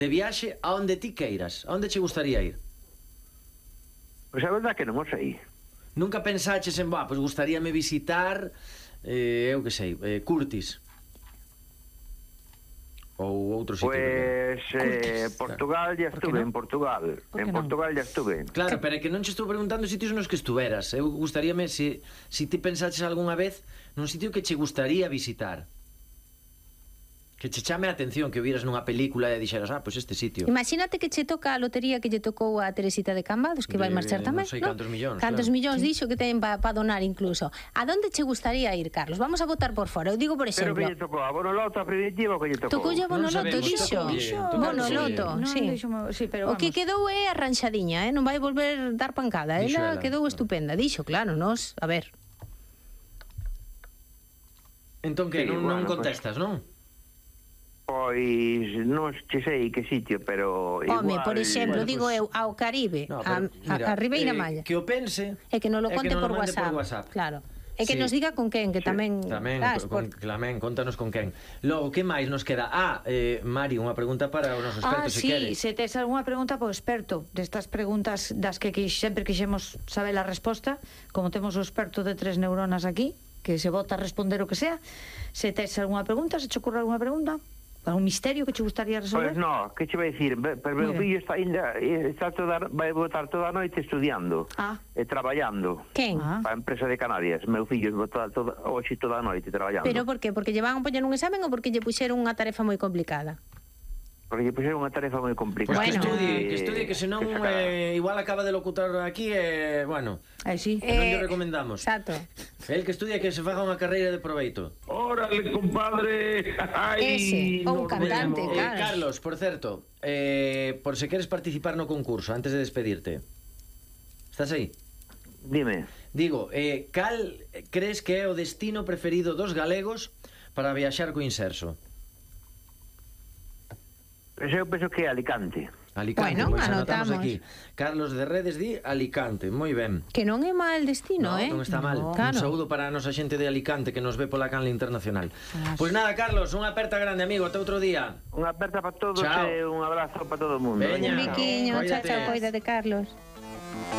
de viaxe a onde ti queiras. A onde che gustaría ir? Pois a verdad que non o sei. Nunca pensaches en, pois gustaríame visitar, eu que sei, Curtis. Ou outro sitio. Pois Portugal ya estuve, en Portugal. En Portugal ya estuve. Claro, pero é que non che estou preguntando sitios nos que estuveras. Eu gustaríame, se ti pensaches algunha vez nun sitio que che gustaría visitar, que che chame a atención, que vieras nunha película e dixeras, pois este sitio. Imagínate que che toca a lotería que lle tocou a Teresita de Cambados, que vai marchar tamén, non sei cantos millóns. Cantos millóns dixo que ten para donar incluso. A donde che gustaría ir, Carlos? Vamos a votar por fora. Eu digo, por exemplo... Pero que lle tocou? A Bonoloto, a primitiva, que lle tocou? Tocoulle a Bonoloto, dixo. Bonoloto, sí. O que quedou é arranxadiña, non vai volver dar pancada. Ela quedou estupenda. Dixo, claro, nos, a ver. Entón que non contestas, non? Pois non sei que sitio, pero igual... Home, por exemplo, digo eu, ao Caribe, a Ribeira Maya. Que o pense... E que non lo conte por WhatsApp. Claro. E que nos diga con quen, que tamén... Tamén, contanos con quen. Logo, que máis nos queda? Mari, unha pregunta para o noso experto, se quere. Se tes algunha pregunta para o experto destas preguntas das que sempre quixemos saber a resposta, como temos o experto de 3 neuronas aquí, que se vota a responder o que sea, se tes algunha pregunta, se che ocurre algunha pregunta... ¿Algún misterio que te gustaría resolver? Pois non, que che vai dicir? Pero meu fillo vai botar toda a noite estudiando e traballando. Quen? Para a empresa de Canarias. Meu fillo botar hoxe toda a noite traballando. Pero por qué? Porque lle van a poñer un examen ou porque lle puxeron unha tarefa moi complicada? Porque lle puxeron unha tarefa moi complicada. Pois que estudie, que senón igual acaba de locutar aquí e, bueno, sí. Non lle recomendamos. Exacto. El que estudie, que se faga unha carreira de proveito. Órale, compadre. Ese, ou un cantante, claro. Carlos, por certo, por se queres participar no concurso, antes de despedirte, estás aí? Dime. Digo, cal crees que é o destino preferido dos galegos para viaxar co Inserso? Eu penso que é Alicante. Alicante, bueno, pois anotamos aquí. Carlos de Redes di Alicante, moi ben. Que non é mal destino, Non está mal. Claro. Un saúdo para a nosa xente de Alicante que nos ve pola canle internacional. Pois nada, Carlos, unha aperta grande, amigo, ata outro día. Unha aperta para todos e un abrazo para todo o mundo. Veña, un biquiño, chao, cuídate, Carlos.